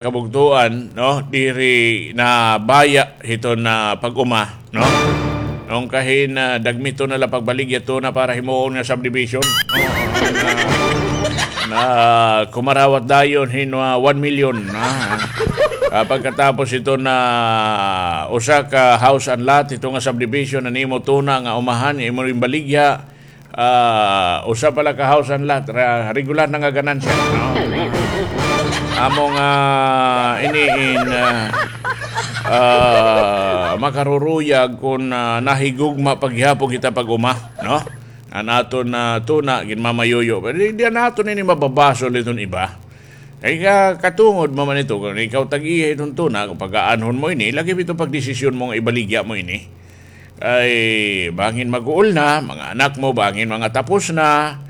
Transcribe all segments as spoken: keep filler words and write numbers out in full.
kabugtoan, no? Diri na baya hiton pag-uma, no? Nung kahin, ah, dagmiton na la pagbaligya tuna para himuon nga subdivision. Na, na kumarawat dayon hin, ah, one million, ah. Ah, pagkatapos hiton usa ka house and lot, hito nga subdivision, an imo tuna nga umahan, imo rin baligya, ah, usa pa la ka house and lot, ra-, regular na nga ganansya, no? Amo nga ini in, ah, ah, makaruruyag kon, ah, nahigugma pa gihapon kita pag-uma, no? An aton, ah, tuna, ginmamayuyo. Pero di, di naton ini mababasol iton iba. Kay ka-, katungod man ito, kon ikaw tag-iya iton tuna, kon pag-aanhon mo ini, lagi ito pagdesisyon mo nga ibaligya mo ini. Ay, bangin mag-uol na, mga anak mo, bangin mga tapos na,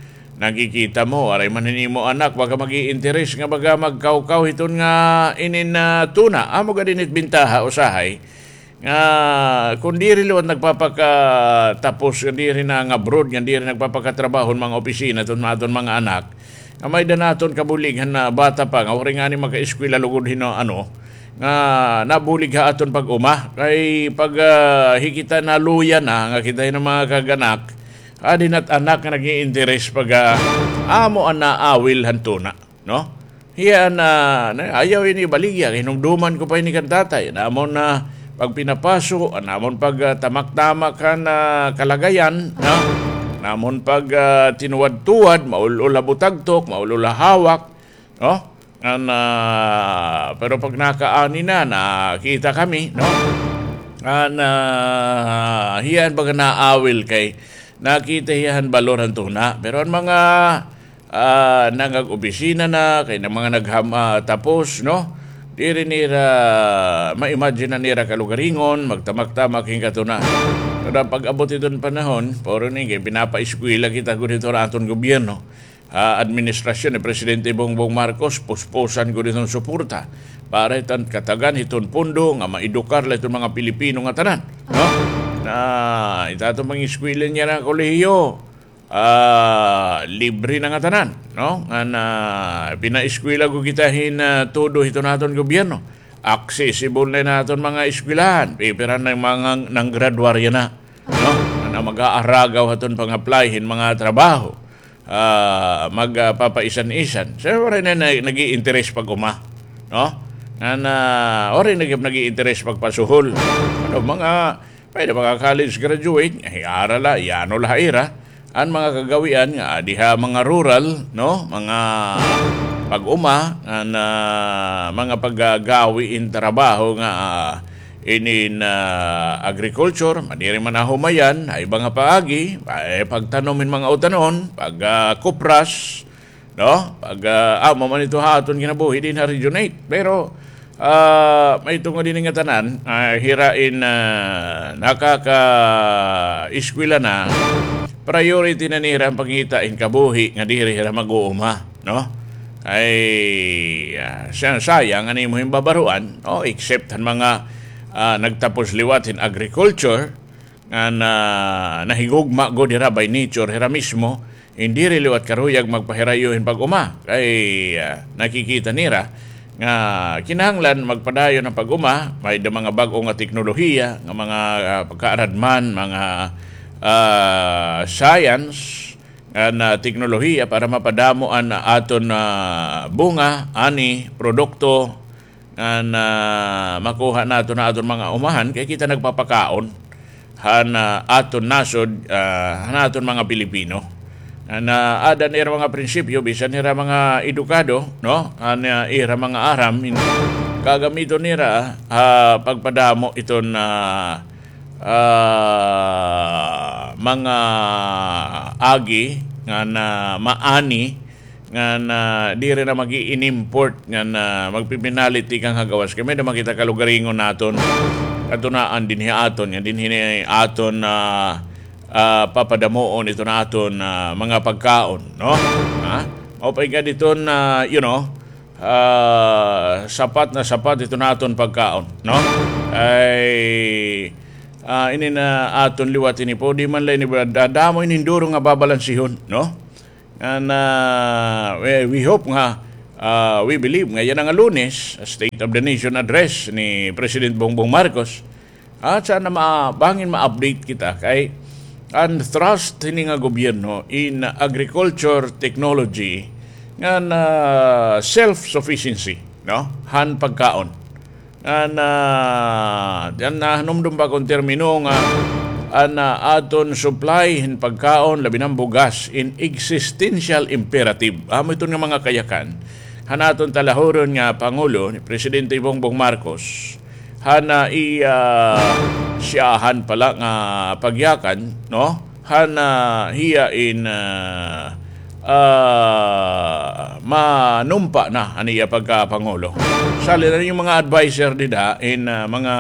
nakikita mo, waray man hin imo anak, baga mag-iinteres nga baga magkawkaw hiton nga inin, ah, tuna. Amo gad ini it bintaha, usahay, nga kon diri liwat nagpapakatapos, nga diri nang-abroad, nga diri nagpapakatrabaho hin mga opisina, iton aton mga anak, nga may-ada naton kabulig han bata pa, nga waray ngani makaeskwela lugod hin ano, nga nabulig ha aton pag-uma. Kay pag, ah, hi kita naluya na, nga kita hin mga kag-anak, adi na it anak nga nag-iinteres pag, ah, amo an naawil han tuna, no? Hiya an, ah, ayaw ini ibaligya, kay hinumduman ko pa ini kan tatay. An amon pagpinapaso, an amon pag, ah, tamak-tamak han, ah, kalagayan, no? An amon pag, ah, tinuwad-tuwad, maul-ol ha butagtok, maul-ol ha hawak, no? An, ah, pero pag nakaani na, nakita kami, no? An, ah, hiya an baga naawil kay nakita hiya han balor han tuna. Pero an mga, ah, nangag-opisina na, kay an mga nagham-, ah, tapos, no? Diri nira ma-imagine an ira kalugaringon, magtamak-tamak hin katuna. Pero pag-abot iton panahon, puro ni kay pinapaeskwela kita gud hiton aton gobyerno. Ah, administrasyon ni Presidente Bongbong Marcos, puspusan gud iton suporta para hiton katagan hiton pondo nga maedukar la iton mga Pilipino nga tanan, no? Na, it aton mga eskwela niya nga kolehiyo, ah, libre na nga tanan, no? Nga na, pinaeskwela gud kita hin, ah, todo hiton aton gobyerno. Accessible na in aton mga eskwelahan. Pipira na mga nanggraduarya na, no? Nga na mag-aaragaw ha aton pang-apply hin mga trabaho, ah, magpapaisan-isan. So, waray na, na nag-iinteres pag-uma, no? Nga na, waray na nag-iinteres pagpasuhol. Ano, mga, pwede mga college graduate, ay, ara la, iano la ha ira an mga kagawian nga adi ha mga rural, no? Mga pag-uma, nga na, mga paggawi in trabaho nga, ah, inin, ah, agriculture, madiri man ahumayan, ha iba nga paagi, ay pagtanom hin mga utanon, pag, ah, kupras, no? Pag, ah, amo man ito ha aton kinabuhi dinhi ha Region eight. Pero, ah, mahitungod ini nga tanan, ah, hira in, ah, nakakaeskwela na, priority na nira an pangita hin kabuhi nga diri hira mag-uuma, no? Ay, ah, siya, sayang an imo hin babaruan, no? Except han mga, ah, nagtapos liwat hin agriculture, nga na, nahigugma gud hira by nature, hira mismo, hin diri liwat karuyag magpahirayo hin pag-uma. Kay, ah, nakikita nira nga kinahanglan magpadayon an pag-uma, may-ada mga bag-o nga teknolohiya, nga mga, ah, pagkaaradman, mga, ah, science, nga na teknolohiya para mapadamo an aton, ah, bunga, ani, produkto, nga na makuha naton ha aton mga umahan, kay kita nagpapakaon han, ah, aton nasod, ah, han aton mga Pilipino. Nga na ada nira mga prinsipyo, bisan nira mga edukado, no? An, ah, ira mga aram, in-, gagamiton nira, ah, pagpadamo iton, ah, ah, mga agi nga na maani, nga na diri na mag-i-inimport, nga na magpipinalit tikang ha gawas. Kay may-ada man kita kalugaringon naton, katunaan dinhi aton, nga dinhi ni aton, ah, ah, papadamoon iton aton, ah, mga pagkaon, no? Ha? Mao pa igad iton, ah, you know, ah, sapat na sapat iton aton pagkaon, no? Ay, ah, ini na aton liwat ini po, di man la ini, da-, damo ini duro nga babalansihon, no? Nga na, we, we hope nga, Ah, we believe nga yana nga Lunes, State of the Nation Address ni President Bongbong Marcos. At sana ma-, bangin ma-update kita kay an thrust hini nga gobyerno in agriculture technology ngan self-sufficiency, no? Han pagkaon. An, ah, an nahanumdom pa akon termino nga an, ah, aton supply hin pagkaon, labi na an bugas, in existential imperative. Amo iton nga mga kayakan han aton talahuron nga Pangulo, ni Presidente Bongbong Marcos, han, ah, iya, ah, siyahan pala nga pagyakan, no? Han, ah, hiya in, ah, ah, manumpa na an iya pagkapangulo. Sali na an iya mga adviser dida in, ah, mga,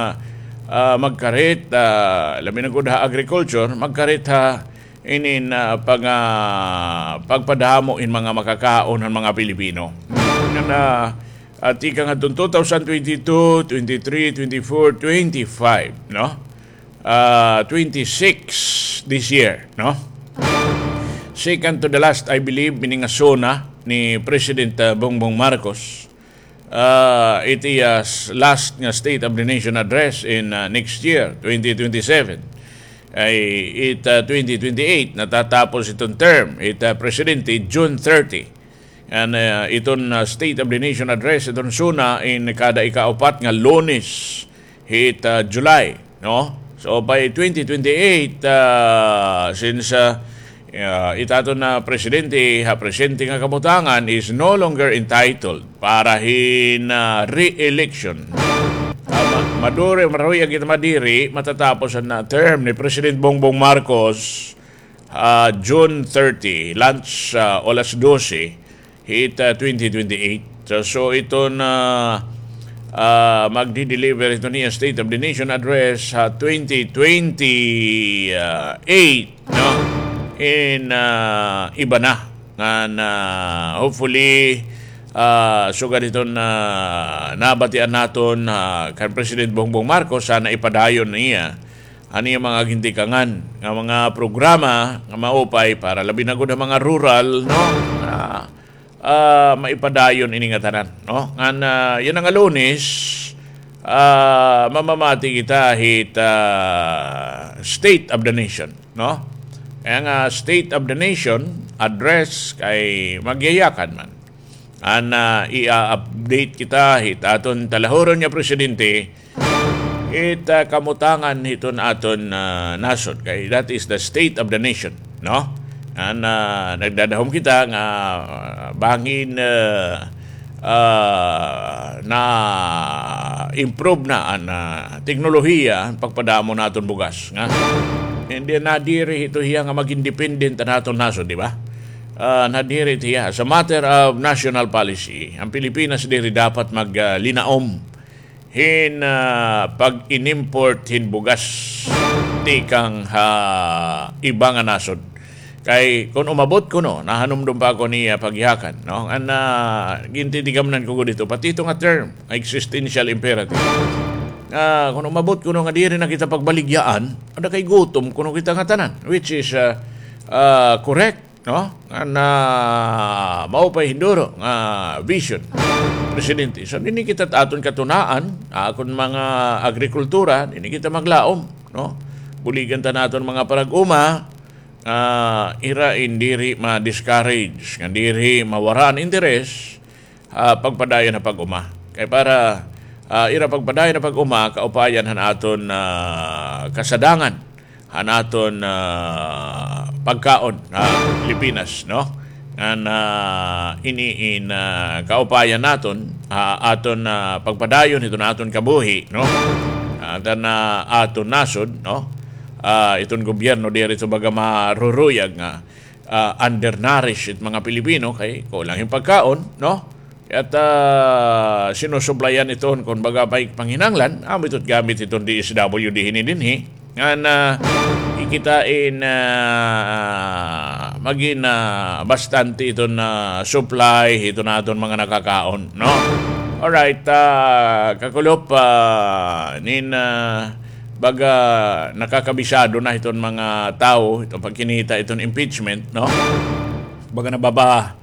ah, magkarit, ah, labi na gud ha agriculture, magkarit ha inin, ah, pag-, ah, pagpadamo hin mga makakaon han mga Pilipino. Ngan, ah, ah, tikang hadton two thousand twenty-two, twenty-three, twenty-four, twenty-five, no? Ah, twenty-six this year, no? Second to the last, I believe, ini nga SONA ni President, ah, Bongbong Marcos. Ah, it iya s-, last nga State of the Nation Address in, ah, next year, twenty twenty-seven. Ay, it, ah, twenty twenty-eight, natatapos iton term, it, ah, presidente, June thirty. An, ah, iton, ah, State of the Nation Address, iton SONA, in kada ikaupat nga Lunes hit, ah, July, no? So, by twenty twenty-eight, ah, since, ah, ah, it aton nga presidente ha presente nga kabutangan is no longer entitled para hin, ah, re-election. Ah, ma-, maduri, maruyag kita madiri, matatapos an, ah, term ni President Bongbong Marcos, ah, June thirty, lunch, ah, olas dose, hit, ah, twenty twenty-eight. So, so iton, ah, magdi-deliver iton niya State of the Nation Address ha twenty twenty-eight, no? In, ah, iba na. Ngan, ah, hopefully, ah, sugad iton, ah, nabatian naton, ah, kan President Bongbong Marcos, sana ipadayon niya an iya mga gintikangan nga mga programa nga maupay para labi na gud ha mga rural, no? Ah, ah, maipadayon ini nga tanan, no? Ngan, ah, yana nga Lunes, ah, mamamati kita hit, ah, State of the Nation, no? Kay nga State of the Nation address kay magyayakan man. An, ah, i-update kita hit aton talahuron nga presidente, it, ah, kamutangan hiton aton, ah, nasod. Kay that is the state of the nation, no? An, ah, nagdadahom kita nga, ah, bangin, ah, ah, na-improve na an, ah, teknolohiya, an pagpadamo naton bugas, nga. Hindi nadiri ito hiya nga mag-independent an aton nasod, di ba? Ah, nadiri ito hiya. As a matter of national policy, an Pilipinas diri dapat mag, ah, linaom hin, ah, pag-inimport hin bugas tikang ha iba nga nasod. Kay kon umabot kuno, nahanumdom pa ako niya pagyakan, no? An, ah, gintitigamanan ko gud ito, pati ito nga term, existential imperative. Ah, kon umabot kuno nga diri na kita pagbaligyaan, ada kay gutom kuno kita nga tanan, which is, ah, ah, correct. No? Nga na maupay hinduro nga vision, Presidente. So, dinhi kita aton katunaan, akon mga agrikultura, dinhi kita maglaom, no? Buligan ta naton mga parag-uma, ah, ira in diri ma-discourage, nga diri mawara an interes, ah, pagpadayon ha pag-uma. Kay para, ah, ira pagpadayon ha pag-uma, kaupayan han aton, ah, kasadangan, han aton, ah, pagkaon ha Pilipinas, no? Ngan, ah, ini in, ah, kaupayan naton, ah, aton, ah, pagpadayon hiton aton kabuhi, no? Aton, ah, aton nasod, no? Ah, iton gobyerno diri ito baga maruruyag nga, ah, undernourished it mga Pilipino kay kulang hin pagkaon, no? At, ah, sinusuplayan iton, kon baga, may panginahanglan, amo ito't gamit iton D S W D hini dinhi. Ngan, ah, ikita in, ah, magin, ah, bastante iton, ah, supply, iton aton mga nakakaon, no? Alright, ah, kakulop, ah, nin, ah, baga nakakabisado na iton mga tawo, iton pagkinita, iton impeachment, no? Baga nababa-,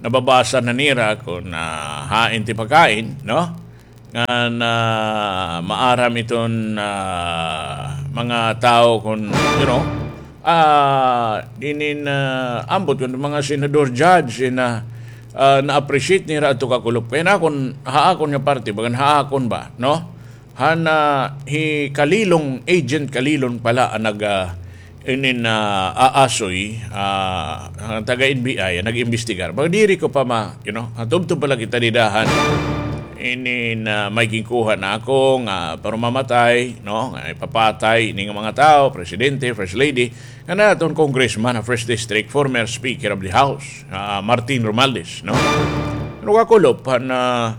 nababasa na nira kon, ah, hain it ipakain, no? Ngan, ah, maaram iton, ah, mga tawo kon, you know, ah, inin, ah, ambot kon mga senador, judge, in, ah, ah, na-appreciate nira adto kakulop. Kay ha akon, ha akon nga parte, bagan ha akon ba, no? Han, ah, hi Kalilong, Agent Kalilong pala an nag, ah, inin, ah, aasoy, ah, an taga N B I, an nag-imbestigar. Baga diri ko pa ma-, you know, ah, tubtob pa la kita dida han inin, ah, may ginkuha na ako nga para mamatay, no? Nga ipapatay ini nga mga tawo, presidente, first lady, ngan aton congressman ha first district, former speaker of the house, ah, Martin Romualdez, no? Pero kakulop han, ah,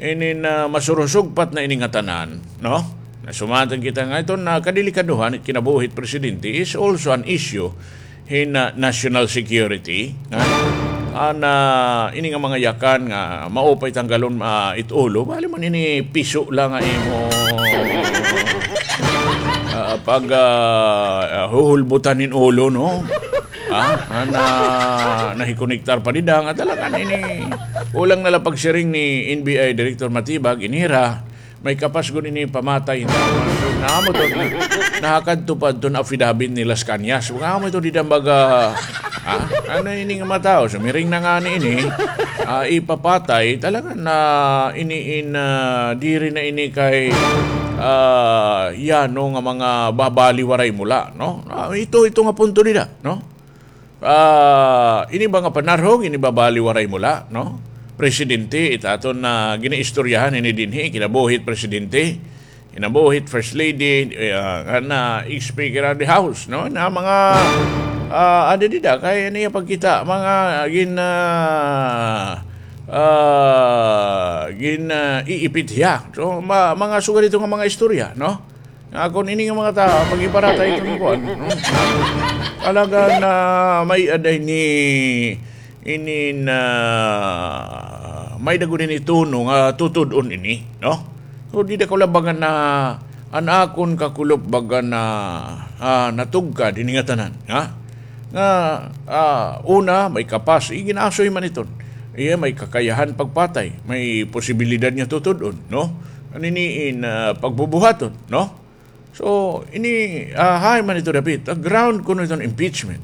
inin, ah, masurusugpat na ini ngatanan, no? Nasumatan kita nga iton, ah, kadelikadohan it kinabuhi hit presidente is also an issue hin, ah, national security, ha? An, ah, ini nga mga yakan nga maupay tanggalon, ah, it ulo, bali man ini piso la nga imo, ah, pag, ah, ah, huhulbutan hin ulo, no? Ha? An, ah, nahikonektar pa dida nga talaga ini. Kulang na la pagsiring ni N B I Director Matibag, ini hira may kapas gud ini pamatay. Naamo to, nahakadto pa adto hin affidavit ni Las Cañas. Nga amo ito dida baga, ha? Ano ini nga mga tawo? Sumiring na ngani ini, ah, ipapatay. Talaga na ini in, ah, diri na ini kay, ah, yano nga mga babaliwaray mo la, no? Ah, ito, ito nga punto dida, no? Ah, ini ba nga panarhog, ini ba baliwaray mo la, no? Presidente, it aton nga ginaistoryahan ini dinhi, kinabuhi hit presidente, kinabuhi hit first lady, eh, ah, ngan, ah, speaker of the house, no? Na mga, ah, adi dida, kay niya pagkita, mga gin-, ah, ah, gin-, ah, iipit hiya. So, ma-, mga sugad ito nga mga istorya, no? Nga kon ini nga mga tawo, pag-iparata iton kuan, no? Talaga na may-ada ini, ini na may-ada gud ini tono nga tutud-on ini, no? So, dida ko la baga na, an akon kakulop baga na, ah, natugkad ini ngatanan, ha? Nga, ah, una, may kapas, igin-asoy man iton. Iya, may kakayahan pagpatay, may posibilidad nga tutud-on, no? An ini in, ah, pagbubuhaton, no? So, ini, ah, hain man ito dapit? Ah, ground kuno iton impeachment.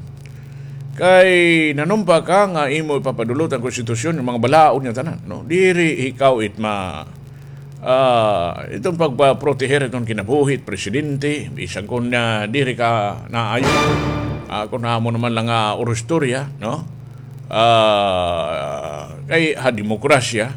Kay nanumpa ka nga imo ipapadulot an konstitusyon, an mga balaod nga tanan, no? Diri ikaw it ma-, ah, iton pagpaproteher iton kinabuhi hit presidente, bisan kon, ah, diri ka naayo. Ah, kon amo naman la nga urustorya, no? Ah, kay ha demokrasya,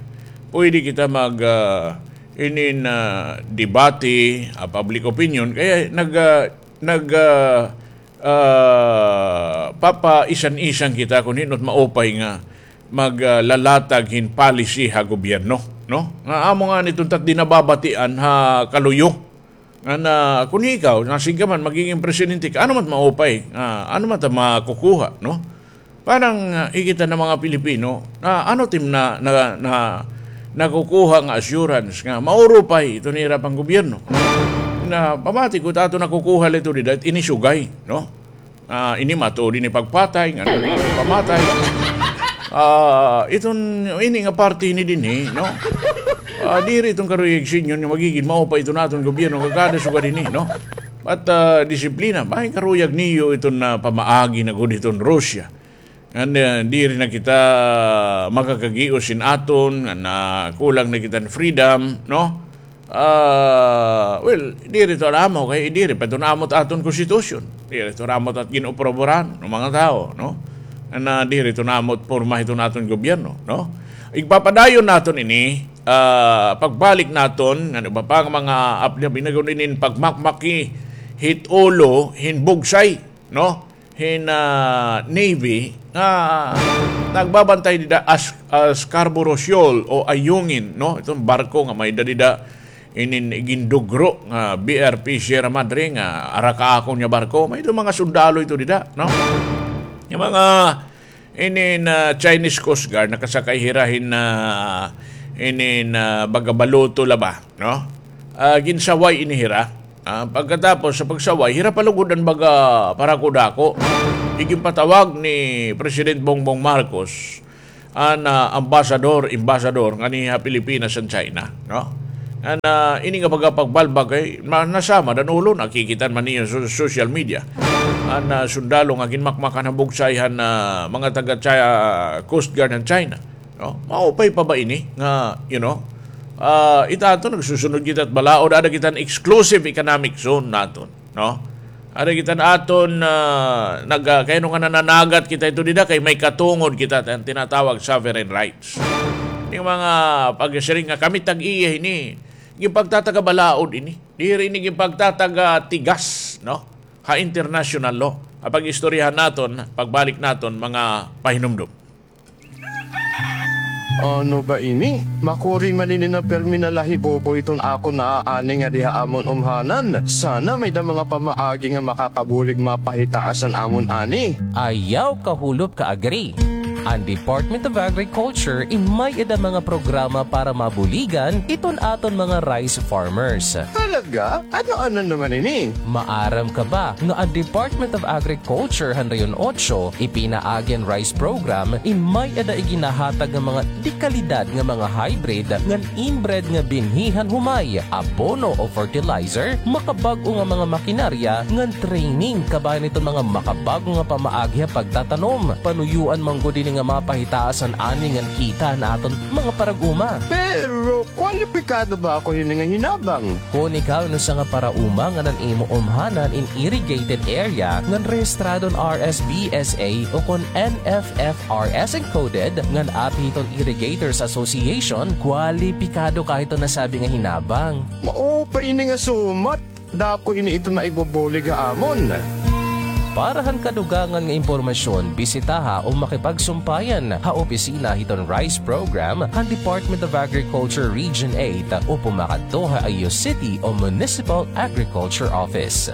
pwede kita mag, ah, inin, ah, debate, ah, public opinion, kaya nag, ah, nag, ah, ah, papaisan-isan kita kon hin-o it maupay nga mag, ah, lalatag hin policy ha gobyerno, no? Nga amo ngani iton it at di nababatian ha kaluyo. Nga na, kon ikaw, nasing ka man, magiging presidente ka, ano man it maupay, ah, ano man it makukuha, no? Parang, ah, ikita nga mga Pilipino, na ano it im na, na, na, nakukuha nga assurance nga maurupay iton ira panggobyerno. Na pamati ko, it aton nakukuha la ito dida, ini sugay, no? Ah, ini matuod ini pagpatay, nga pamatay. Ah, iton, ini nga parte ini dinhi, no? Ah, diri iton karuyag sinyo nga magigin maupay iton aton gobyerno, kakada sugad ini, no? At, ah, disiplina, may karuyag niyo iton, ah, pamaagi na gud iton Russia. Ngan, ah, diri na kita makakagios hin aton, ngan, ah, kulang na kita hin freedom, no? Ah, well, diri ito an amo, kay diri pa ito an amo it aton konstitusyon. Diri ito an amo it at gin-aprobaran ng mga tawo, no? Ngan, ah, diri ito an amo it porma hiton aton gobyerno, no? Igpapadayon naton ini, ah, pagbalik naton, ngan iba pa nga mga apdi-apdi na gud inin pagmakmaki hit ulo hin bugsay, no? Hin, ah, Navy nga nagbabantay dida ha, ah, Scarborough Shoal o Ayungin, no? Iton barko nga may-ada dida inin igindugro nga B R P Sierra Madre nga ara kaakon nga barko. May-ada mga sundalo ito dida, no? Nga mga inin, ah, Chinese Coast Guard, nakasakay hira hin, ah, inin, ah, baga baluto la ba, no? Ah, ginsaway ini hira. Ah, pagkatapos sa pagsaway, hira pa lugod an baga parakudako. Iginpatawag ni President Bongbong Marcos an, ah, ambasador, ambasador nganhi ha Pilipinas an China, no? An, ah, ini nga pagpagbalbag kay ma-, nasama, danulon, nakikita man niyo sa social media. An, ah, sundalo nga ginmakmakan han bugsay han, ah, mga taga Chi-, ah, Coast Guard han China, no? Maupay pa ba ini nga, you know, ah, ita ato nagsusunod kita hit balaod, ada kita han exclusive economic zone naton. No? Ada kita han aton, ah, nag-, ah, kay ano nga nananagat kita ito dida, kay may katungod kita han tinatawag sovereign rights. Yung mga pagsiring nga kami tag-iya ini, ginpagtatag-a balaod ini. Diri ini ginpagtatag-a tigas, no? Ha international law. Ha pag-istoryahan naton, pagbalik naton, mga pahinumdom. Ano ba ini? Makuri man ini nga pirmi nalahibubo iton akon naaani ngadi ha amon umhanan. Sana may-ada mga pamaagi nga makakabulig mapahitaas an amon ani. Ayaw kahulop ka-agri. An Department of Agriculture in may-ada mga programa para mabuligan iton aton mga rice farmers. Talaga? Ano-ano naman ini? Maaram ka ba nga an Department of Agriculture han Region Otso ipinaagi an rice program in may-ada iginahatag nga mga dekalidad nga mga hybrid ngan inbred nga binhi han humay, abono o fertilizer, makabag-o nga mga makinarya ngan training kabahin hiton mga makabag-o nga pamaagi ha pagtatanom. Panuyoan man gud ini nga mapahitaas an ani ngan kita han aton mga parag-uma. Pero kwalipikado ba ako hini nga hinabang? Kon ikaw in usa nga parauma ngan an imo umhanan in irrigated area ngan rehistrado han R S B S A ukon N F F R S encoded ngan api hiton Irrigators Association, kwalipikado ka hiton nasabi nga hinabang. Mao pa ini nga sumat. Dako ini ito maibubulig ha amon. Para han kadugangan nga impormasyon, bisitaha o makipagsumpayan ha opisina hiton rice program han Department of Agriculture Region eight o pumakadto ha iyo city o municipal agriculture office.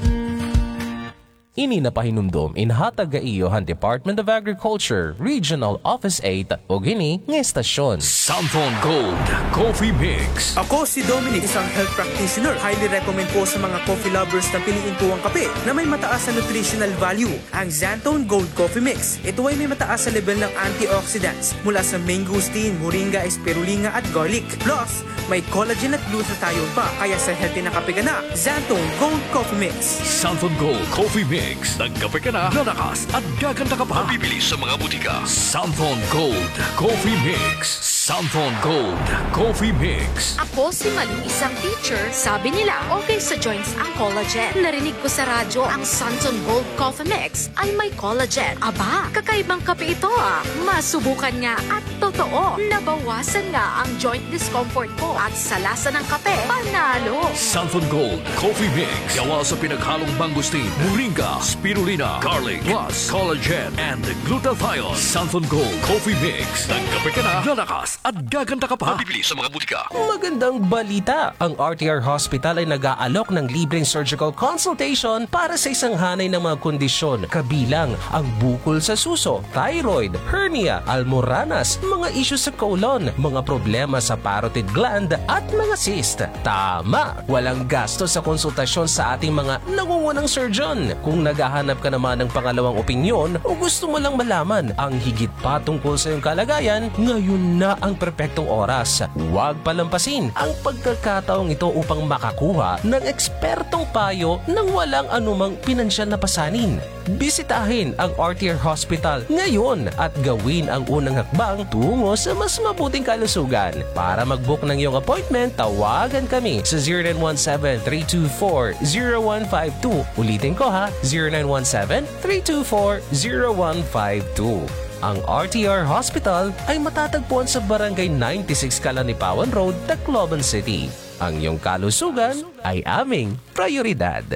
Ini nga pahinumdom inhatag ha iyo han Department of Agriculture Regional Office eight ug ini nga estasyon. Santhon Gold Coffee Mix. Ako si Dominic, isang health practitioner. Highly recommend po sa mga coffee lovers na piliin po ang kape na may mataas na nutritional value, ang Xanthone Gold Coffee Mix. Ito ay may mataas na level ng antioxidants mula sa mangosteen, moringa, spirulina at garlic. Plus, may collagen at glutathione pa, kaya sa healthy na kape ka na, Xanthone Gold Coffee Mix. Santhon Gold Coffee Mix. Nagkape ka na, lalakas at gaganda ka pa. Mabibili sa mga butika. Santhon Gold Coffee Mix. Santhon Gold Coffee Mix. Ako si Malu, isang teacher. Sabi nila, okay sa joints ang collagen. Narinig ko sa radyo ang Santhon Gold Coffee Mix ay may collagen. Aba, kakaibang kape ito, ah. Masubukan nga at totoo, nabawasan nga ang joint discomfort ko at sa lasa ng kape, panalo. Santhon Gold Coffee Mix. Gawa sa pinaghalong mangosteen, moringa, spirulina, garlic, plus collagen and glutathione. Santhon Gold Coffee Mix. Nagkape ka na, lalakas at gaganda ka pa. Mabibili sa mga butika. Magandang balita! Ang R T R Hospital ay nag-aalok ng libreng surgical consultation para sa isang hanay ng mga kondisyon, kabilang ang bukol sa suso, thyroid, hernia, almoranas, mga isyu sa colon, mga problema sa parotid gland, at mga cyst. Tama! Walang gasto sa konsultasyon sa ating mga nangungunang surgeon. Kung naghahanap ka naman ng pangalawang opinyon o gusto mo lang malaman ang higit pa tungkol sa iyong kalagayan, ngayon na ang perpektong oras. Huwag palampasin ang pagkakataong ito upang makakuha ng ekspertong payo nang walang anumang pinansyal na pasanin. Bisitahin ang R T R Hospital ngayon at gawin ang unang hakbang tungo sa mas mabuting kalusugan. Para mag-book ng iyong appointment, tawagan kami sa zero nine one seven, three two four, zero one five two. Ulitin ko ha, zero nine one seven, three two four, zero one five two. Ang R T R Hospital ay matatagpuan sa Barangay ninety-six Kalanipawan Road, Tacloban City. Ang iyong kalusugan ay aming prioridad.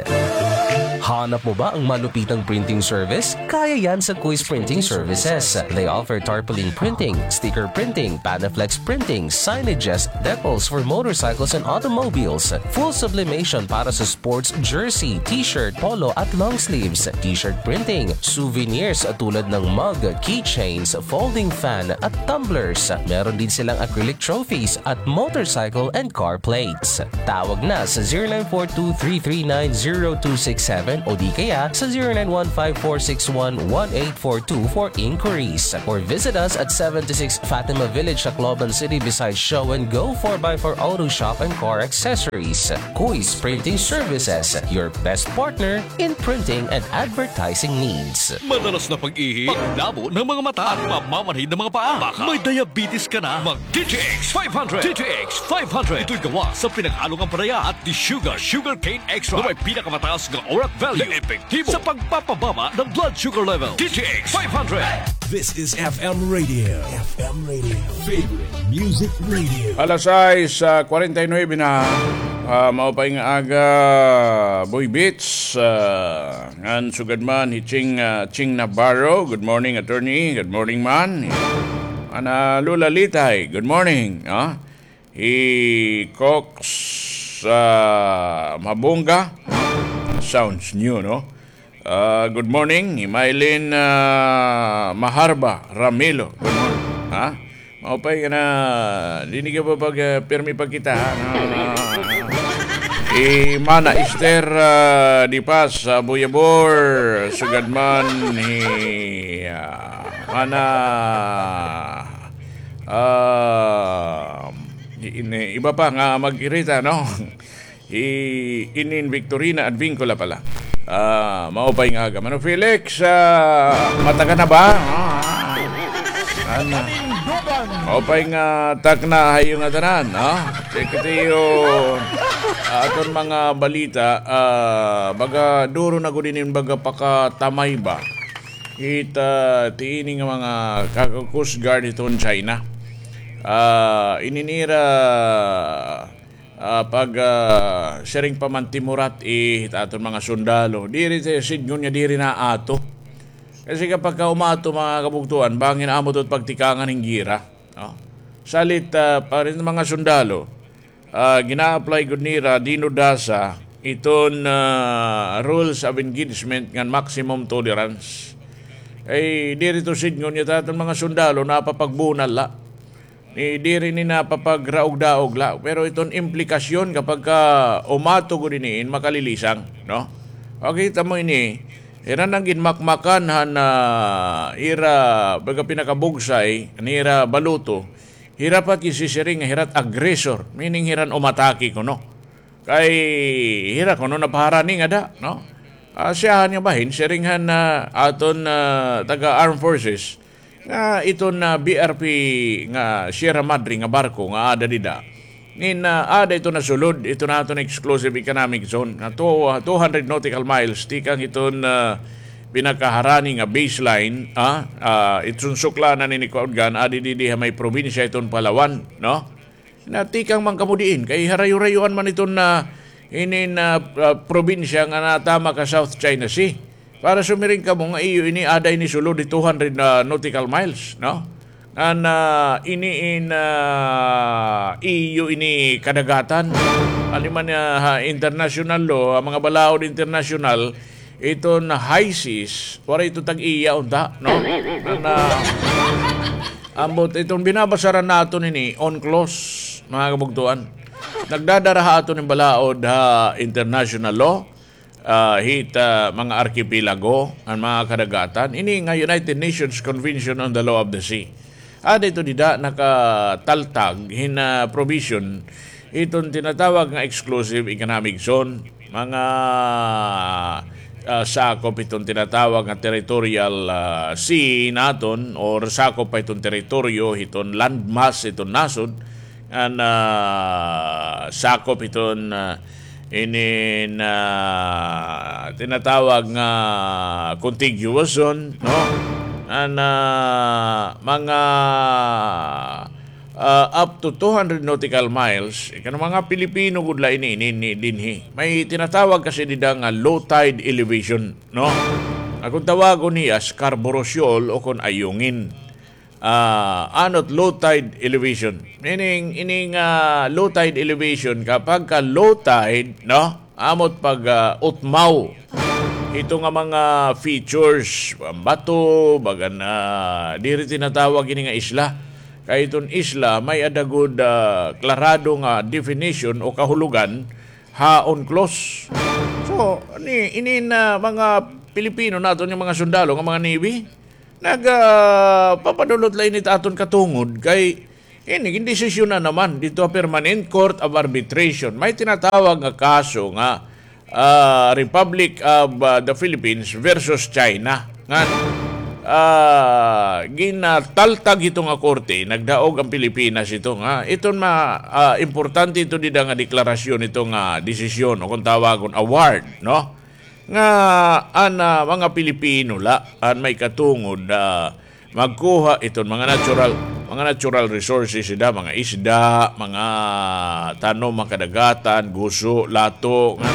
Hanap mo ba ang malupitang printing service? Kaya yan sa Quiz Printing Services. They offer tarpaulin printing, sticker printing, Panaflex printing, signages, decals for motorcycles and automobiles, full sublimation para sa sports jersey, t-shirt, polo at long sleeves, t-shirt printing, souvenirs tulad ng mug, keychains, folding fan at tumblers. Meron din silang acrylic trophies at motorcycle and car plates. Tawag na sa zero nine four two three three nine zero two six seven o di kaya sa zero nine one five four six one one eight four two for inquiries. Or visit us at seventy-six Fatima Village, Tacloban City, beside Show and Go four by four Auto Shop and Car Accessories. Kuis Printing Services, your best partner in printing and advertising needs. Madalas na pag-ihi, paglabo ng mga mata, at pamamanhid ng mga paa. Baka may diabetes ka na, mag D T X five hundred. D T X five hundred. Ito'y gawa sa pinaghalong ampalaya at desugar, sugarcane extract, na may pinakamataas na orat value na epektibo sa pagpapababa ng blood sugar level. D T X five hundred. This is F M Radio. F M Radio. Favorite Music Radio. Alas sais, ah, kwarenta y nuebe na. Ah, maupay nga aga, Boy Beats. Ah, ngan sugad man hi Ching, ah, Ching Navarro. Good morning, attorney. Good morning man. Ana Lola Litay. Good morning. Ah, hi Cox, ah, Mabunga. Sounds new, no? Ah, good morning, hi Mylene, ah, Maharba Ramilo. Good morning. Ha? Maupay nga na, diri ka pa pag, ah, pirmi pa kita, ha? Na, hi Mana Esther, ah, Di Paz, ah, Buyabor, sugad man, hi, ah, Mana, ah, hi-, ini, iba pa nga mag-irita, no? Hi Inin Victorina Advincula pala. Ah, maupay nga aga. Mano Felix, ah, matagan na ba? Ah, ano? Maupay nga takna ha iyo ngatanan, ha? Check it iyo, ah, aton mga balita, ah, baga duro na gud inin baga pakatamay ba? It, ah, ti ini nga mga kaka-Coast Guard hiton China. Ah, ini nira ah, pag, ah, siring pa man timurat, eh, hit aton mga sundalo. Diri ti sidngon nga diri na ato. Kasi kapag ka umaato, mga kabugtoan, bangin amo to pagtikangan hin gira, no? Salit, ah, pa rin mga sundalo, ah, gina-apply gud nira, dinudasa, iton, ah, rules of engagement ngan maximum tolerance. Ay, diri to sidngon nga it aton mga sundalo, napapagbunal la. Ni diri ni napapagraog-daog la, pero iton implikasyon kapag ka umato gud ini in makalilisang, no? Makita mo ini, hira nang ginmakmakan han, ah, ira, baga pinakabugsay, nira baluto, hira pa it gisisiring, hira it aggressor, meaning hira an umatake kuno. Kay hira kuno napaharani ngada, no? Ah, siyahan nga bahin, siring han, ah, aton, ah, taga Armed Forces, nga iton, ah, B R P nga Sierra Madre nga barko nga aada dida. Nin, ah, aada ito nasulod, ito na aton exclusive economic zone, nga two, ah, two hundred nautical miles, tikang iton, ah, pinakaharani nga baseline, ah, ah, iton suklanan ini kaudgan, aada didi ha may probinsya iton Palawan, no? Na tikang man kamo diin, kay harayo-rayoan man iton na, inin, ah, ah, probinsya nga natama ka South China Sea. Para sumiring kamo nga iyo ini, aada ini sulod hi two hundred na nautical miles, no? Ngan, ah, ini in, ah, iyo ini kadagatan. Aliman, ah, ha international law, ha mga balaod international, iton high seas, waray ito tag-iya unta, no? Ngan, ah, ambot iton binabasaran naton ini, UNCLOS, mga kabugtoan. Nagdadara ha aton in balaod ha international law, ah, hit, ah, mga arkipelago, an mga kadagatan. Ini nga United Nations Convention on the Law of the Sea. Aada ito dida nakataltag hin, ah, provision iton tinatawag nga exclusive economic zone, mga, ah, sakop iton tinatawag nga territorial, ah, sea naton, or sakop pa iton teritoryo hiton landmass iton nasod, an, ah, sakop iton, ah, inin, ah, tinatawag nga contiguous zone, no? An, ah, mga, ah, up to two hundred nautical miles, ikan mga Pilipino gud la ini, ini, ini dinhi. May tinatawag kasi dida nga low tide elevation, no? Akon tawagon hiya Scarborough Shoal o kon Ayungin. Ah, anot low tide elevation. Meaning, ini nga low tide elevation, kapag ka low tide, no? Amot pag, ah, utmaw. Ito nga mga features, bato, bagan, ah, diri tinatawag ini nga isla. Kay iton isla, may-ada gud, ah, klarado nga definition o kahulogan, ha UNCLOS. So, ni, ini na mga Pilipino naton nga mga sundalo nga mga Navy, nag, ah, papadulot la ini it aton katungod kay ini, gindesisyonan naman didto ha Permanent Court of Arbitration. May tinatawag nga kaso nga, ah, Republic of, ah, the Philippines versus China. Nga, ah, ginataltag hito nga korte, nagdaog an Pilipinas hito nga, iton ma-, ah, importante ito dida nga deklarasyon, ito nga desisyon, o kon tawagon, award, no? Nga an, ah, mga Pilipino la an may katungod, ah, magkuha iton mga natural, mga natural resources dida, mga isda, mga tanom, mga kadagatan, guso, lato, nga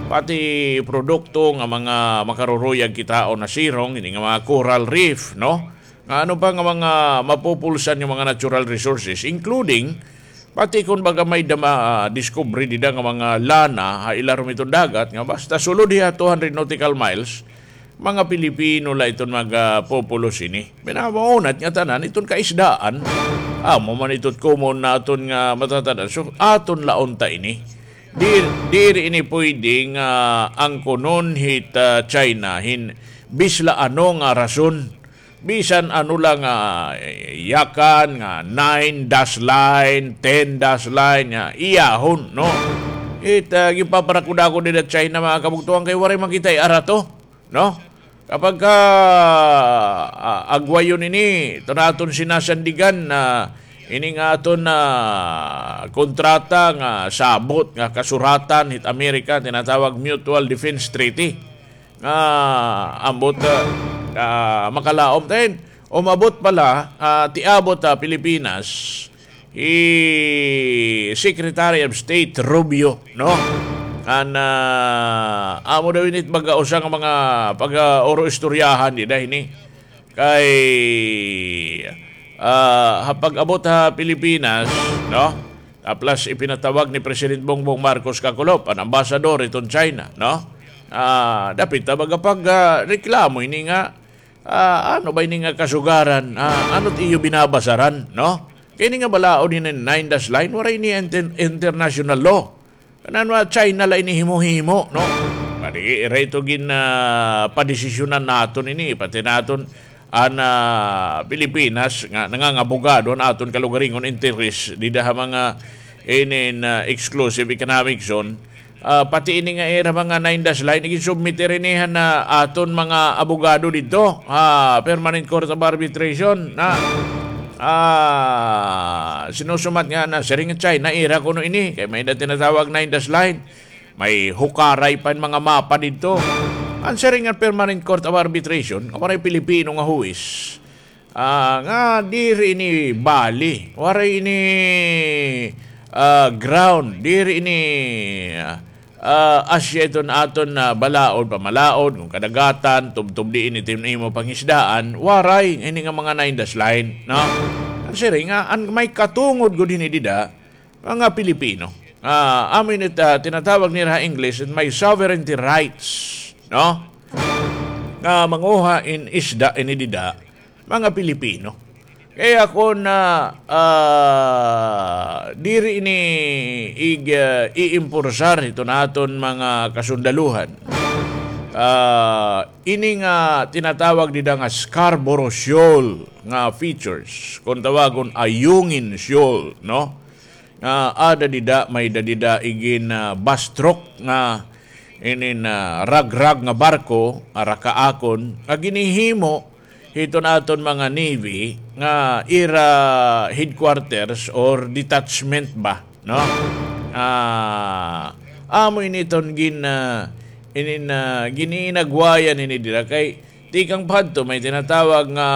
pati produkto nga mga makaruruyag kitaon ha sirong, ini nga mga coral reef, no? Nga ano pa nga mga mapupulsan nga mga natural resources, including pati kon baga may-ada ma-, ah, discovery dida nga mga lana ha ilarom hiton dagat, nga basta sulod hiya two hundred nautical miles, mga Pilipino la iton magapupulos hini. Pinamaunat nga tanan iton kaisdaan. Amo man ito it common naton nga matatan-aw. So, aton la unta ini. Di-, diri ini pwede nga angkonon hit, ah, China hin bisan la ano nga rason. Bisan ano la nga, eh, yakan nga nine dash line, ten dash line nga iyahon, no? It, ah, ginpaparakod ako dida China, mga kabugtoan, kay waray man kita iarato, no? Kapag ka, ah, agwayon ini, ito na aton sinasandigan na ini nga aton na kontrata nga sabot nga kasuratan hit Amerika, tinatawag Mutual Defense Treaty. Ah, ambot, ah, ah, makalaom tayo. Umabot pala, ah, tiabot, ah, Pilipinas, hi Secretary of State Rubio, no? An, ah, amo daw ini it baga usa nga mga pag-, ah, oro istoryahan dida hini. Kay, ah, ha pag-abot ha Pilipinas, no? Ah, plus ipinatawag ni President Bongbong Marcos Kakulop, an ambasador iton China, no? Ah, dapit ta baga pag, ah, reklamo ini nga, ah, ano ba ini nga kasugaran? Ah, ano it iyo binabasaran, no? Kay ini nga balaod ini nine dash line, waray ini inter-, international law. Kanan wa China la ini himo-himo, no? Madi, ira ito gin, ah, padesisyonan naton ini, pati naton an, ah, Pilipinas nga nangangabogado an aton kalugaringon interes dida ha mga inin, ah, exclusive economic zone. Ah, pati ini nga ira mga nine dash line, iginsubmit ira ini han, ah, aton mga abogado didto ha Permanent Court of Arbitration na, ah, sinusumat nga na siring China ira kuno ini kay may-ada tinatawag nine dash line. May hukaray pa hin mga mapa didto. An siring nga Permanent Court of Arbitration, nga waray Pilipino nga huwis. Ah, nga diri ini bali, waray ini, ah, ground, diri ini, ah, asya iton aton, ah, balaod, pamalaod, kon kadagatan, tubtob diin iton imo pangisdaan, waray ini nga mga nine dash line, no? An siring nga, an may katungod gud hini dida, mga Pilipino. Ah, amo ini it, ah, tinatawag nira ha English, it may sovereignty rights, no? Nga manguha hin isda ini dida, mga Pilipino. Kaya kon, ah, ah, diri ini ig-, ah, iimporsar hiton aton mga kasundaluhan, ah, ini nga tinatawag dida nga Scarborough Shoal nga features, kon tawagon Ayungin Shoal, no? Nga ada dida, may-ada dida igin, ah, bastrok nga inin, ah, ragrag nga barko, ara kaakon, nga ginhihimo hiton aton mga navy nga ira headquarters or detachment ba, no? Ah, amo ini iton gin-, ah, inin, ah, gin-iinagwayan ini dira kay tikang pa hadto may tinatawag nga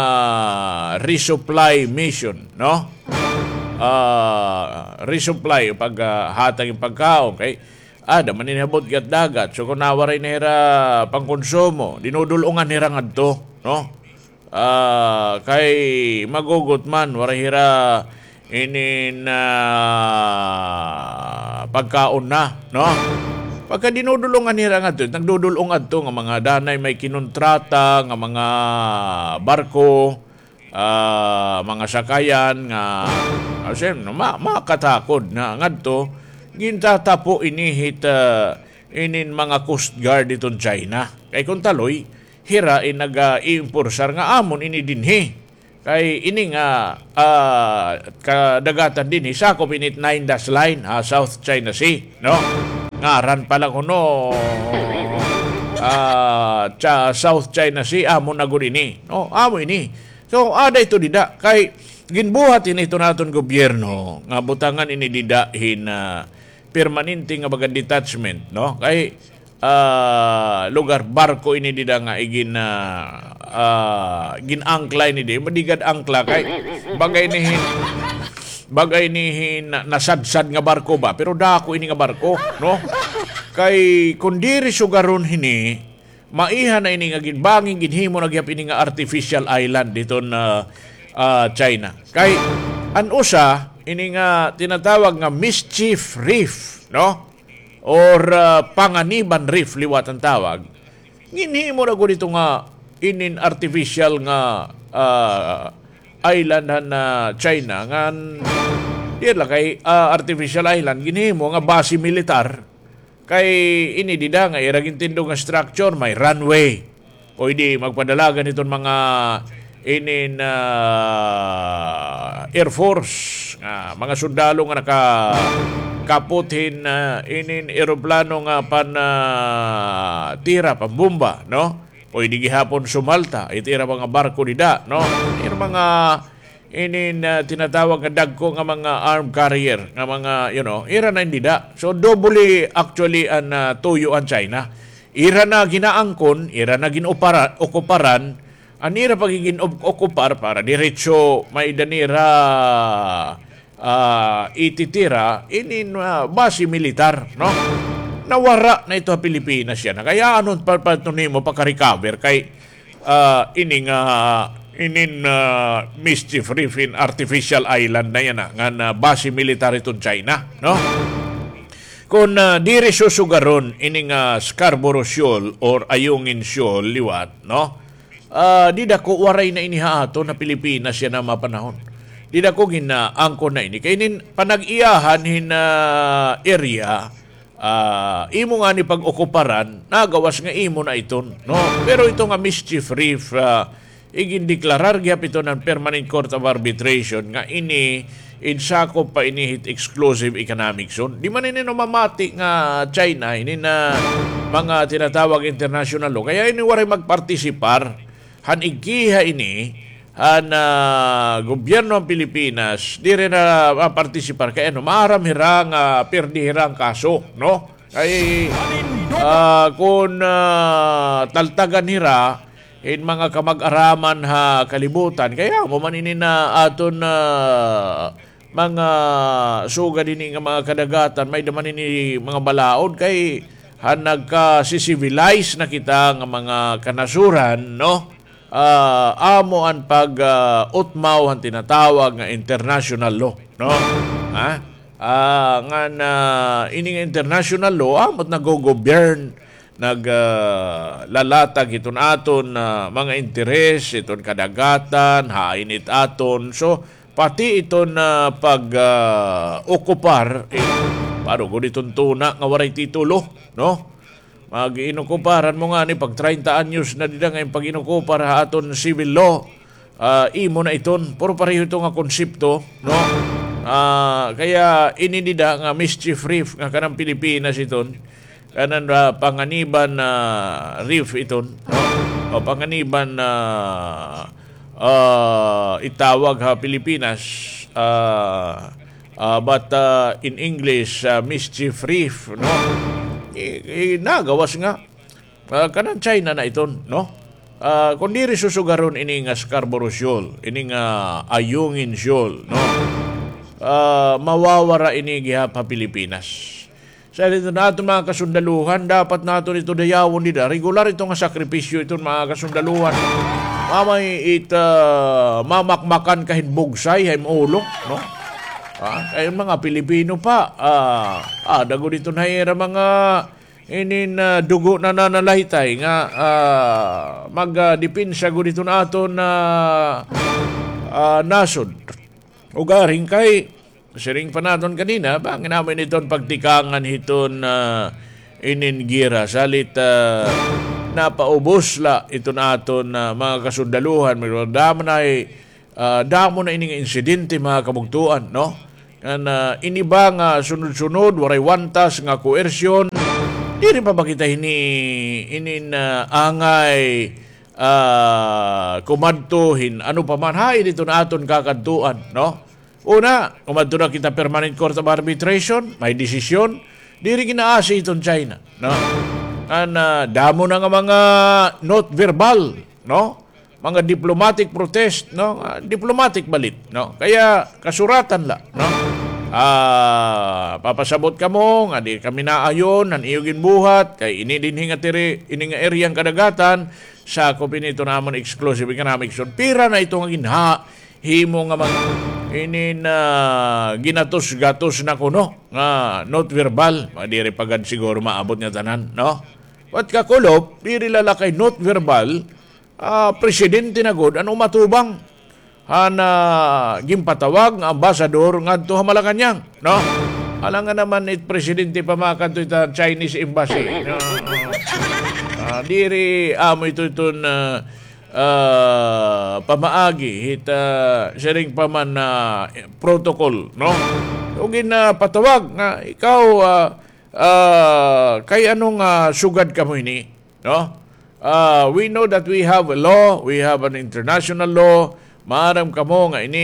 resupply mission, no? Ah, resupply, pag, ah, hatag hin pagkaon kay ada man ini ha butnga hit dagat. So, kon waray na hira pangkonsumo, dinudul-ungan hira ngadto, no? Ah, kay magugot man, waray hira inin, ah, pagkaon na, no? Pagka dinudul-ungan hira ngadto, nagdudul-ong adto nga mga danay may kinontrata nga mga barko, ah, mga sakayan nga, ah, siyem-, ma-, makatakod na ngadto, gintatapo ini hit, ah, inin mga Coast Guard iton China. Kay kon taloy, hira in nag-iimpursar nga amon ini dinhi. Kay ini nga, ah, kadagatan dinhi, sakop ini it Nine Dash Line, ha, South China Sea, no? Ngaran pa la kuno, ah, cha-, South China Sea, amo na gud ini, no? Amo ini. So, ada ito dida. Kay, ginbuhat ini iton aton gobyerno, nga butangan ini dida hin, ah, permanente nga baga detachment, no? Kay, ah, lugar, barko ini dida nga igin-, ah, ah, gin-angkla ini di. Madigad angkla kay baga ini hin-, baga ini hin-, na-, nasadsad nga barko ba? Pero dako ini nga barko, no? Kay kon diri sugaron hini, maiha na ini nga ginbangin, ginhimo na gihap ini nga artificial island diton, ah, ah, China. Kay an usa, ini nga tinatawag nga Mischief Reef, no? Or, ah, Panganiban Reef liwat an tawag. Ginhimo na gud ito nga inin artificial nga, ah, island han, ah, China ngan diri la kay, ah, artificial island, ginhimo nga base militar. Kay ini dida nga ira gintindog nga structure, may runway. Pwede magpadalagan hiton mga inin, ah, Air Force, nga mga sundalo nga nakakapot hin, ah, inin eroplano nga pan, ah, tira, pambomba, no? Pwede gihapon sumalta it ira mga barko dida, no? Ira mga inin, ah, tinatawag nga dagko nga mga armed carrier, nga mga, you know, ira na in dida. So, doble actually an, ah, tuyo an China. Ira na ginaangkon, ira na gin-opara-, okuparan, an ira pa gin-op-, okupar para diretso may-ada nira, ah, ititira, inin, ah, base militar, no? Nawara na ito ha Pilipinas yana. Kay ano pa, pa ito nimo pagka-recover kay ah, ini nga, inin, ah, Mischief Reef in artificial island na yana, nga na base militar iton China, no? Kon, ah, diri susugaron ini nga Scarborough Shoal or Ayungin Shoal liwat, no? Ah, dida ko waray na ini ha aton ha Pilipinas yana mga panahon. Dida ko ginaangkon na ini. Kay inin panag-iyahan hin, ah, area, ah, imo ngani pag-okuparan, nagawas nga imo na iton, no? Pero ito nga Mischief Reef, ah, igindeklarar gihap iton han Permanent Court of Arbitration nga ini in sakop pa ini hit exclusive economic zone. Di man ini namamati nga China, ini na mga tinatawag international law. Kaya ini waray magpartisipar han igkiha ini han, ah, gobyerno han Pilipinas, diri na mapartisipar kay ano, maaram hira nga pirdi hira an kaso, no? Kay, ah, kon, ah, taltagan hira hin mga kamag-araman ha kalibutan, kay amo man ini na aton, ah, mga sugad ini nga mga kadagatan, may-ada man ini mga balaod kay han nagka-civilize na kita nga mga kanasuran, no? Ah, amo an pag, ah, utmaw han tinatawag nga international law, no? Ha? Ah, ngan, ah, ini nga international law, amo it naggo-govern, nag, ah, lalatag hiton aton, ah, mga interes, hiton kadagatan, hain it aton. So, pati iton, ah, pag, ah, okupar, eh, paano gud iton tuna nga waray titulo, no? Mag-inokupar, han mo ngani, pag treinta anyos na dida nga im pag-inokupar ha aton civil law, ah, imo na iton. Pero pareho ito nga konsepto, no? Ah, kaya ini dida nga Mischief Reef nga kanan Pilipinas iton, kanan, ah, Panganiban, ah, Reef iton, no? O Panganiban, ah, ah, itawag ha Pilipinas, ah, ah, but, ah, in English, ah, Mischief Reef, no? I, i, nagawas nga, ah, kanan China na iton, no? Ah, kon diri susugaron ini nga Scarborough Shoal, ini nga Ayungin Shoal, no? Ah, mawawara ini gihap ha Pilipinas. Sa dito na aton mga kasundaluhan, dapat naton ito dayawon dida. Regular ito nga sakripisyo iton mga kasundaluhan. Mamay it, ah, mamakmakan ka hin bugsay ha im ulo, no? Ah, kay mga Pilipino pa, ah, ah, dago dito na ira mga inin, ah, dugo na nanalaytay nga, ah, mag, ah, depensa gud iton aton, ah, ah, nasod. Ugaring kay, siring pa naton kanina, bangin amo ini iton pagtikangan hiton, ah, inin giyera, salit, ah, napaubos la iton aton, ah, mga kasundaluhan. Damo na, ah, damo na ini nga insidente, mga kabugtoan, no? Ngan, ah, ini ba nga sunod-sunod, waray wantas nga koersyon, diri pa ba kita hini, inin, ah, angay, ah, kumadto hin ano pa man, hain iton aton kakadtuan, no? Una, kumadto na kita Permanent Court of Arbitration, may desisyon, diri ginaasi iton China, no? Ngan, ah, damo na nga mga note verbal, no? Mga diplomatic protest, no? Ah, diplomatic balit, no? Kaya kasuratan la, no? Ah, papasabot kamo nga di kami naayon han iyo ginbuhat, kay ini dinhi nga tiri-, ini nga area han kadagatan, sakop ini iton amon exclusive economic zone. Pira na ito nga ginha-, himo nga mag-, inin, ah, ginatos-gatos na kuno nga note verbal. Mga diri pa gad siguro maabot nga tanan, no? But kakulop, diri la la kay note verbal, ah, presidente na gud an umatubang han, ah, ginpatawag nga ambasador ngadto ha Malacañang, no? Alangan naman it presidente pa makadto hit Chinese embassy, no? Ah, diri amo ito iton, ah, ah, pamaagi hit, ah, siring pa man, ah, protocol, no? Ug ginpatawag nga ikaw, ah, ah, kay ano nga sugad kamo ini, no? Ah, we know that we have a law, we have an international law. Maaram kamo nga ini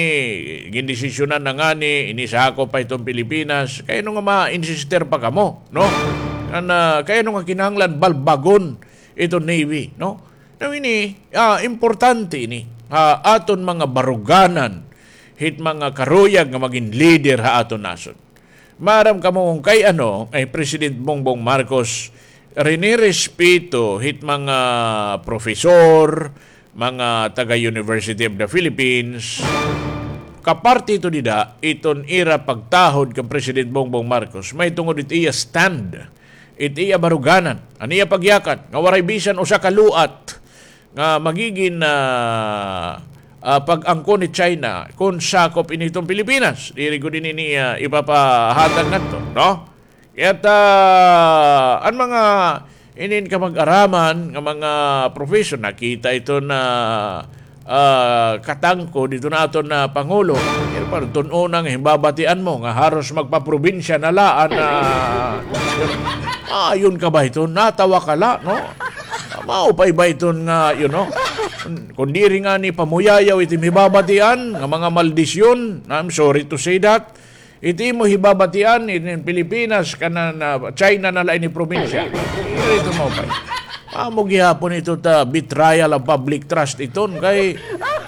gindesisyonan na ngani, ini sakop pa iton Pilipinas. Kay ano nga ma-insister pa kamo, no? Ngan, ah, kay ano nga kinahanglan balbagon iton Navy, no? Now ini, ah, importante ini ha aton mga baruganan, hit mga karuyag nga magin leader ha aton nasod. Maaram kamo kon kay ano, kay President Bongbong Marcos, rinirespeto hit mga profesor, mga taga University of the Philippines, kaparte ito dida, iton ira pagtahod kan President Bongbong Marcos, mahitungod it iya stand, it iya baruganan, an iya pagyakan, nga waray bisan usa ka luat nga magigin, ah, ah, pag-angkon ni China kon sakop ini iton Pilipinas. Diri gud ini niya ipapahatag ngadto, no? Kaya ta, an mga inin kamag-araman nga mga profession, nakita iton, ah, katangko dito na aton na Pangulo. Pero para tun-una nga himbabatian mo nga haros magpaprobinsya na la an, ah, ayon ka ba iton? Natawa ka la, no? Maupay ba iton nga, you know, kun diri ngani pamuyayaw iti hibabatian nga mga maldisyon, I'm sorry to say that. Iti imo hibabatian, iti Pilipinas, kanan, ah, China na la ini probinsya. Diri ito maupay. Amo gihapon ito ta betrayal of public trust iton kay,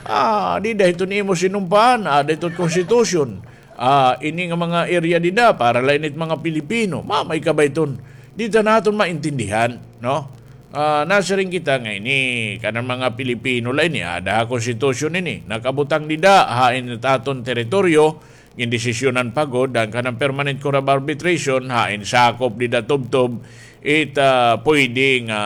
ah, dida iton imo sinumpaan, aada iton konstitusyon. Ah, ini nga mga area dida, para la ini it mga Pilipino. Maupay ka ba iton? Dida naton maintindihan, no? Ah, nasiring kita nga ini, kanan mga Pilipino la ini, aada ha konstitusyon ini. Nakabutang dida, hain it aton teritoryo, gindesisyonan pa gud, an kanan Permanent Court of Arbitration, hain sakop dida tubtob, it, ah, pwede nga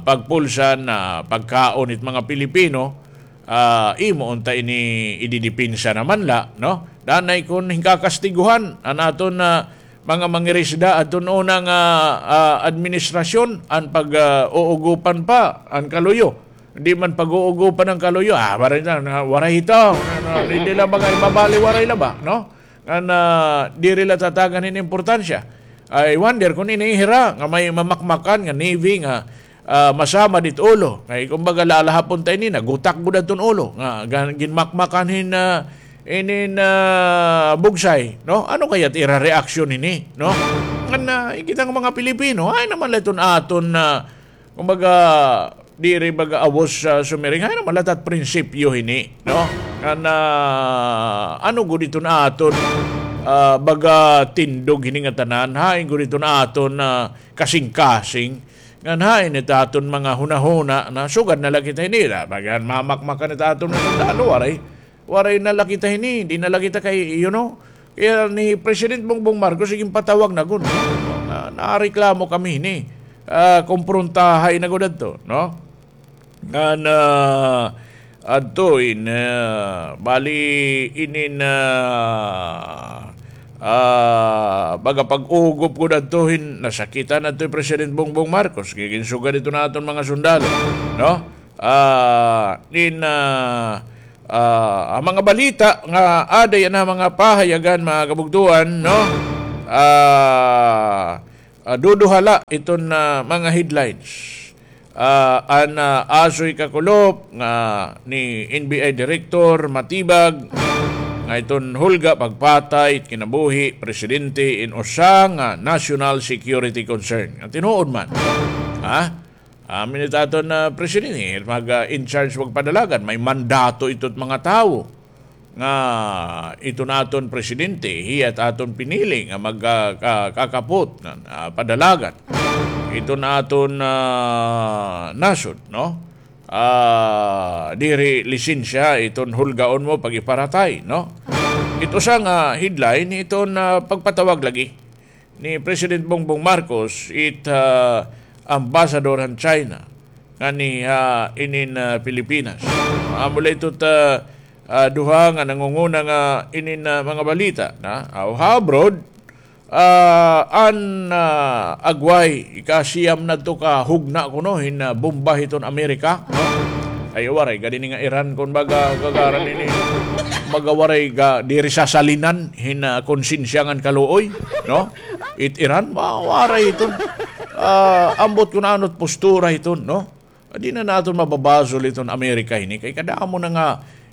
pagpulsan, ah, pagkaon it mga Pilipino, ah, imo unta ini ididepensa naman la, no? Danay kon hinkakastiguhan an aton, ah, mga mangirisda adton una nga, ah, administrasyon, an pag, ah, uugopan pa an kaluyo. Di man pag-uugopan an kaluyo, ah, waray na, na, waray ito. Na, na, di la ba kay mabali, waray la ba, no? Ngan, ah, diri la tatagan hin importansya. I wonder kon ini hira nga may mamakmakan nga navy nga ah, masamad it ulo. Kay kumbaga, lalahapon ta ini, nagutak gud adton ulo. Nga, gan-, ginmakmakan hin, ah, inin, ah, bugsay, no? Ano kaya it ira reaksyon ini, no? Ngan, ah, kita nga mga Pilipino, hain naman la iton aton, ah, kumbaga, diri baga awos sa sumiring, hain naman la it at prinsipyo hini, no? Ngan, ah, ano gud iton aton, ah, baga tindog hini nga tanan, hain gud iton aton, ah, kasingkasing. Ngan hain it aton mga hunahuna na sugad na la kita hini, la, bagan mamakmakan it aton mga sundalo, waray, waray na la kita hini, di na la kita kay, you know, kaya ni President Bongbong Marcos, sige, patawag na gud, no? Na, nareklamo kami hini, ah, kumprontahay na gud adto, no? Ngan, ah, adto in, ah, bali inin, ah, Ah, baga pag-ugop gud adto hin nasakitan adto hi President Bongbong Marcos, kay ginsugad ito naton mga sundalo, no? Ah, in, ah, ah, an mga balita nga aada yana mga pahayagan, mga kabugtuan, no? Ah, ah, duduha la iton, ah, mga headlines. Ah, an, ah, asoy kakulop nga ni N B I Director Matibag nga iton hulga pagpatay it kinabuhi presidente in usa nga national security concern. Nga tinuod man. Ha? Amin it aton, ah, presidente, mag, ah, in charge magpadalagan, may mandato ito mga tawo nga iton aton presidente, hiya it aton pinili nga mag, ah, ka-, kakapot nga, ah, padalagan iton aton, ah, nasod, no? Ah, diri lisensya iton hulgaon mo pag-iparatay, no? Ito sa nga headline, iton, ah, pagpatawag lagi ni President Bongbong Marcos, it, ah, ambassador han China, ngani, ah, inin, ah, Pilipinas. Amo la ito ta, ah, duha nga nangunguna nga inin, ah, mga balita na, ah, ha abroad, ah, an, ah, agway, ikasiyam na to ka hugna kuno hin, ah, bomba hiton Amerika, no? Ay, waray, gadi ni nga Iran, kun baga, kagaran ini, baga waray ga, diri sasalinan hin, ah, konsensya ngan kaluoy, no? It Iran, ma-, waray iton. Ah, ambot kun ano't postura iton, no? Di na naton mababasol iton Amerika ini. Kay kadamo na nga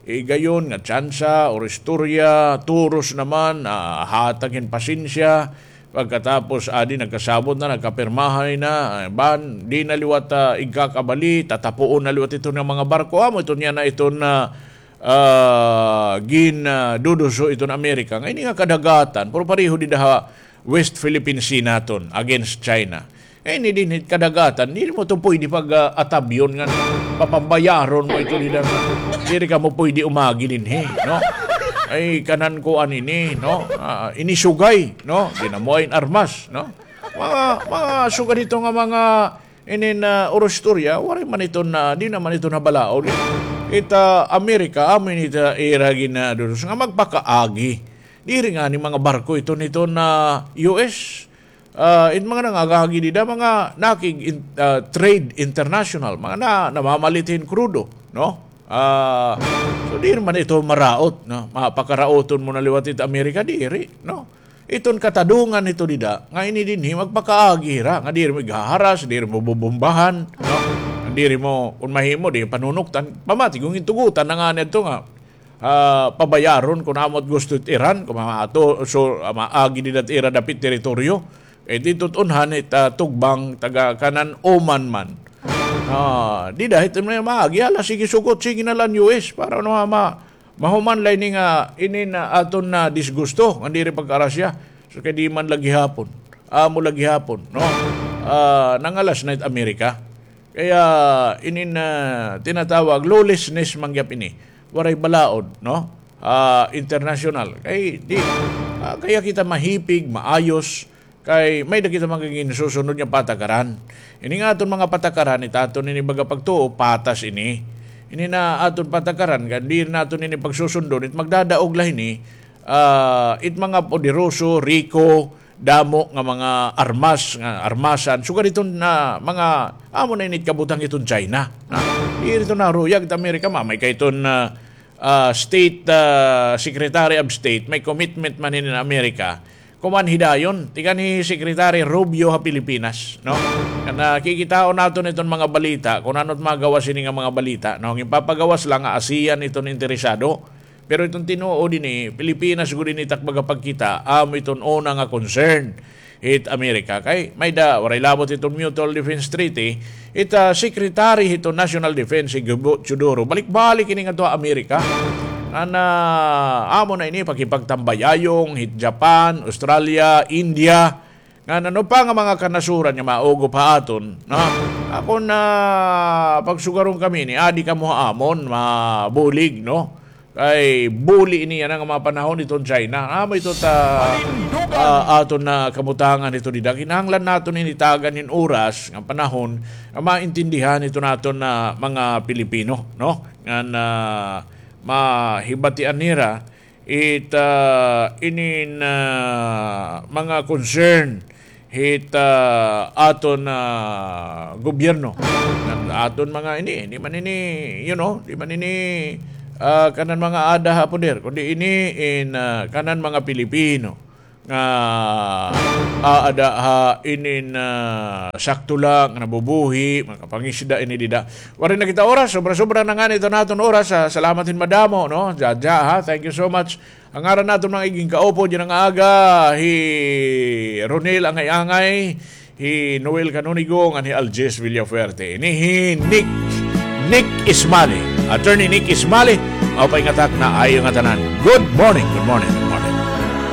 igayon nga tsansa or istorya, turos naman, ah, hatag hin pasensya. Pagkatapos, adi, nagkasabot na, nagkapirmahay na, ah, ban, di na liwat, ah, igkakabali, tatapuon na liwat iton nga mga barko. Amo iton yana iton, ah, ah, gin, ah, duduso iton Amerika. Nga ini nga kadagatan, pero pareho dida ha West Philippine Sea naton against China. Nga ini dinhi kadagatan, diri mo to pwede pag, ah, atabyon nga papambayaron mo ito dida. Diri kamo pwede umagi dinhi, no? Ay, kanan kuan ini, no? Ah, ini sugay, no? Di na mo ay armas, no? Mga, mga sugad ito nga mga inin, ah, oro istorya, waray man ito na, di naman ito nabalaod. Ita Amerika, amo ini ita ira ginadudos nga magpakaagi. Diri ngani mga barko ito nito na U S. Ah, it mga nangagagi dida, mga nakig in-, ah, trade international, mga na, namamalit hin krudo, no? Ah, so diri man ito maraot, no? Mapakaraoton mo na liwat it Amerika, diri, no? Iton katadungan hito dida, nga ini dinhi magpakaagi hira, nga diri mo ighaharas, diri mo bubombahan, no? Diri mo, kun mahimo, di panunuktan, pamati, kun gintugutan na ngani adto nga, ah, pabayaron kun amo it gusto it Iran, kun maato, so, ah, maagi dida it ira dapit teritoryo. Kay didto it unhan it, ah, tugbang taga kanan Oman man. Ah, dida hit may maagi, hala, sige sugot, sige na la an U S, para ano, ma-, mahuman la ini nga, ini na aton na disgusto, nga diri pagka-Russia. So, kay di man la gihapon. Amo la gihapon, no? Ah, nangalas na it Amerika. Kaya, inin, ah, tinatawag lawlessness man gihap ini. Waray balaod, no? Ah, international. Kay, di, ah, kaya kita mahipig, maayos, kay may-ada kita mga ginsusunod nga patakaran. Ini nga aton mga patakaran, it aton ini baga pagtuo, patas ini. Ini na aton patakaran, kay di naton ini pagsusundon, it magdadaog la hini, ah, it mga poderoso, riko, damo nga mga armas, nga armasan. Sugad iton na mga, amo na ini it kabutang iton China. Na, diri iton naruyag it Amerika, mamay kay iton, ah, ah, State, ah, Secretary of State, may commitment man ini an Amerika. Kuman hidayon, tikan hi Secretary Rubio ha Pilipinas, no? Kana kikitaon naton iton mga balita, kun ano it magawas ini nga mga balita, no? Ginpapagawas la nga ASEAN iton interesado. Pero iton tinuod ini, Pilipinas gud ini it ak baga pagkita, amo iton una nga concern hit Amerika. Kay may-ada, waray labot iton Mutual Defense Treaty, it, ah, Secretary hiton National Defense, hi Gibo Teodoro. Balik-balik ini ngadto ha Amerika. Nga na, amo na ini, pakipagtambayayong hit Japan, Australia, India, ngan ano pa nga mga kanasuran nga maugop ha aton, no? Ako na pagsugaron kami ini, adi kamo ha amon, mabulig, no? Kay buli ini yana nga mga panahon iton China. Amo ito ta, ah, aton na kabutangan ito dida. Kinahanglan naton ini tagan hin oras nga panahon nga maintindihan ito naton na mga Pilipino, no? Nga na mahibatian nira it, ah, inin, ah, mga concern hit, ah, aton, ah, gobyerno. Ngan aton mga ini, di man ini, you know, di man ini, ah, kanan mga aada ha poder, kundi ini in, ah, kanan mga Pilipino nga aada ha inin, ah, sakto la nga nabubuhi, makapangisda ini dida. Waray na kita oras, sobra-sobra na ngani ito naton oras. Ah, salamat hin madamo, no? Jaja, ha? Thank you so much. An ngaran naton mga iging kaupo dyan nga aga, hi Ronel Angay-Angay, hi Noel Canonigo, ngan hi Algis Villafuerte. Ini hi Nick, Nick Ismali. Attorney Nick Ismali, maupay nga takna ha iyo ngatanan. Good morning, good morning.